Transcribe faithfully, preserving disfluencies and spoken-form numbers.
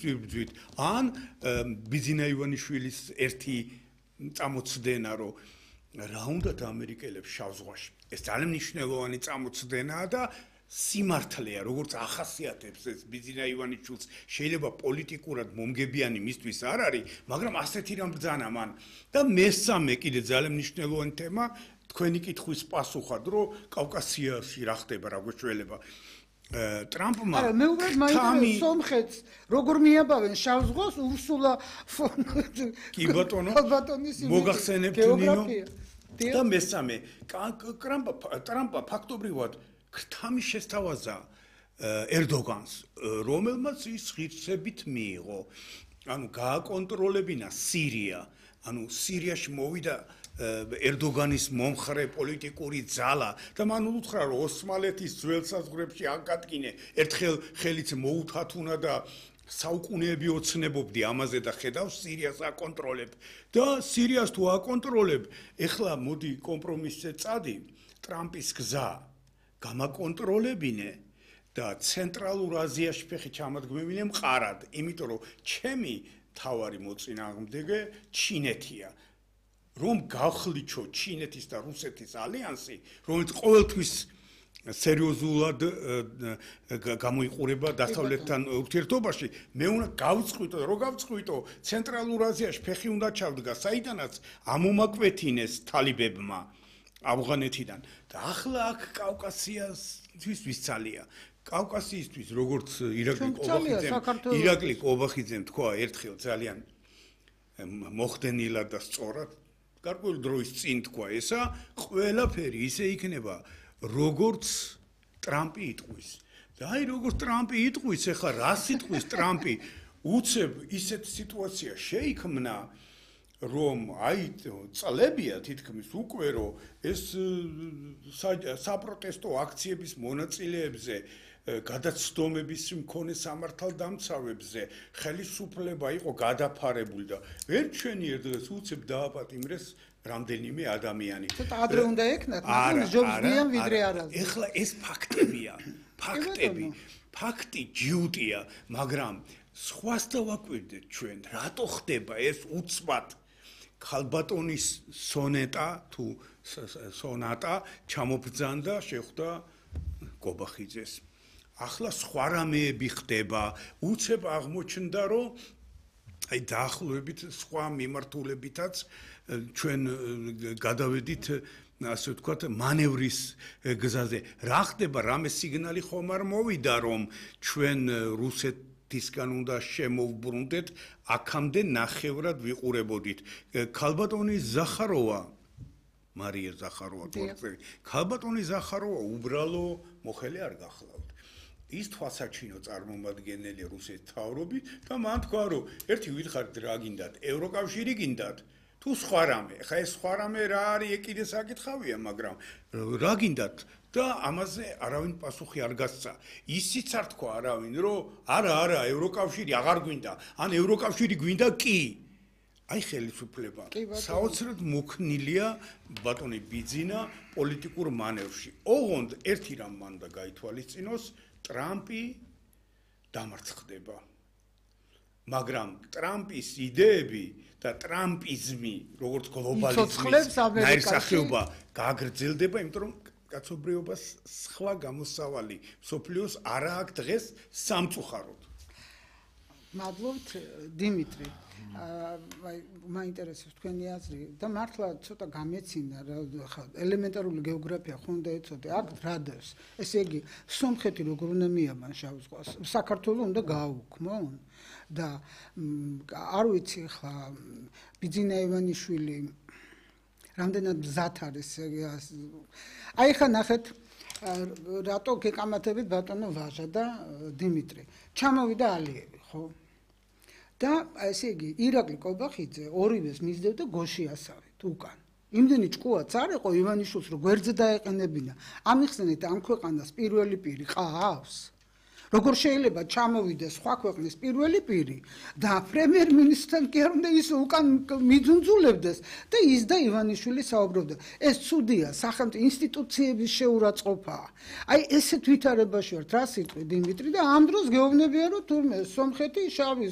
ვიბრძვით ან ბიძინა ივანიშვილის ერთი წამოწდენა რომ რა უნდათ ამერიკელებს შავ ზღვაში ეს ძალიან მნიშვნელოვანი წამოწდენაა და სიმართლეა როგორც ახასიათებს ეს ბიძინა ივანიშვილს შეიძლება პოლიტიკურად მომგებიანი მისთვის არ არის მაგრამ ასეთი რამ ბრძანა მან და მესამე კიდე ძალიან მნიშვნელოვანი თემა თქვენი კითხვის პასუხად რომ კავკასიაში რა ხდება რა გვეშველება ტრამპმა არა მე უბრალოდ მაინტერესებს სომხეთს როგორ მიაბავენ შავ ზღვას ურსულა ფონ კი ბატონო მოგახსენებთ ნინო და მესამე ტრამპა ტრამპა ფაქტობრივად ქრთამი შესთავაზა ერდოგანს რომელმაც ის ღირსებით მიიღო ანუ გააკონტროლებინა სირია ანუ სირიაში მოვიდა ერდოგანის მომხრე პოლიტიკური ძალა და მან უთხრა რომ ოსმალეთის ძველ საზღვრებში აკადგინე ერთხელ ხელიც მოუთათუნა და საუკუნეები ოცნებობდი ამაზე და ხედავ სირიას აკონტროლებ და სირიას თუ აკონტროლებ ეხლა მოდი კომპრომისზე წადი ტრამპის გზა გამაკონტროლებინე და ცენტრალურ აზიაში ფეხი ჩამადგმევინე მყარად იმიტომ რომ ჩემი თავარი მოწინააღმდეგე ჩინეთია რომ გავხლიჩო ჩინეთის და რუსეთის ალიანსი რომელიც ყოველთვის სერიოზულად გამოიყურება დასავლეთთან ურთიერთობაში მე უნდა გავწყვიტო რომ გავწყვიტო ცენტრალურ აზიაში ფეხი უნდა ჩავდგა საიდანაც ამომაკვეთინეს თალიბებმა ავღანეთიდან და ახლა აქ კავკასიასთვის ვისცალია კავკასიისთვის როგორც ირაკლი ყობახიძემ ირაკლი ყობახიძემ თქვა ერთხელ ძალიან მოხდენილად და სწორად გარკვეული დროის წინ თქვა ესა ყველაფერი ისე იქნება როგორც ტრამპი იტყვის და აი როგორც ტრამპი იტყვის ეხლა რა სიტყვის ტრამპი უცებ ისეთ სიტუაცია შეიქმნა რომ აი წლებია თითქმის უკვე რომ ეს საპროტესტო აქციების მონაწილეებზე გადაცდომების მქონე სამართალდამცავებზე ხელისუფლება იყო გადაფარებული და ერთ ჩვენიერ დღეს უცებ დააპატიმრეს რამდენიმე ადამიანი. ცოტა ადრე უნდა ეკნათ, მაგრამ ჯობსდიან ვიდრე არა. ეხლა ეს ფაქტებია, ფაქტები, ფაქტი ჯიუტია, მაგრამ სხვას დავაკვირდეთ ჩვენ, რატო ხდება ეს უცბად ქალბატონის სონეტა თუ სონატა ჩამობრძანდა შეხვდა ყობახიძეს. ახლა სხვა რამეები ხდება, უცებ აღმოჩნდა რომ აი დაახლოებით სხვა მიმართულებითაც ჩვენ გადავედით ასე ვთქვათ მანევრის გზაზე. რა ხდება, რამე სიგნალი ხომ არ მოვიდა რომ ჩვენ რუსეთისგან უნდა შემოვბრუნდეთ, აქამდე ნახევრად ვიყურებოდით. ქალბატონი ზახაროვა მარია ზახაროვა თორწელი. ქალბატონი ზახაროვა უბრალო მოხელე არ გახლავთ. ის თვალსაჩინო წარმომადგენელი რუსეთის მთავრობით და მან თქვა რომ ერთი ვითხარით რა გინდათ ევროკავშირი გინდათ თუ სხვა რამე ხა ეს სხვა რამე რა არის კიდე საკითხავია მაგრამ რა გინდათ და ამაზე არავინ პასუხი არ გასცა ისიც არ თქვა არავინ რომ არა არა ევროკავშირი აღარ გვინდა ან ევროკავშირი გვინდა კი აი ხელისუფლება საოცრად მოქნილია ბატონი ბიძინა პოლიტიკურ მანევრში ოღონდ ერთი რამ მანდა გაითვალისწინოს ტრამპი დამარცხდება. მაგრამ ტრამპის იდეები და ტრამპიზმი, როგორც გლობალიზმის ნაირსახეობა გაგრძელდება, იმიტომ რომ კაცობრიობას სხვა გამოსავალი სოფლიოს არა აქვს დღეს სამწუხაროდ. მადლობთ დიმიტრი. აი მაინტერესებს თქვენი აზრი და მართლა ცოტა გამეცინა ხა ელემენტარული გეოგრაფია ხომ და ეცოდე აქ რადევს ესე იგი სომხეთი როგორ უნდა მიაბან შავ ზღვას საქართველოს უნდა გააუქმონ და არ ვიცი ხა ბიძინა ივანიშვილი რამდენად მზად არის აი ხა ნახეთ რატო გეკამათებით ბატონო ვაჟა და დიმიტრი ჩამოვიდა ალიევი ხო და ესე იგი ირაკლი ყობახიძე ორივეს მისდევდა გოშიასავით უკან იმდენი ჭკუაც არ იყო ივანიშვილს რომ გვერდზე დაეყენებინა ამიხსენეთ ამ ქვეყანას პირველი პირი ყავს როგორ შეიძლება ჩამოვიდეს სხვა ქვეყნის პირველი პირი და პრემიერ-მინისტრთან კი არ უნდა ის უკან მიძუნძულებდეს და ის და ივანიშვილი საუბრობდა ეს ცუდია სახელმწიფო ინსტიტუციების შეურაცხყოფაა აი ესეთ ვითარებაში ვართ რა სიტყვი დიმიტრი და ამ დროს გეუბნებიან რომ თურმე სომხეთი შავი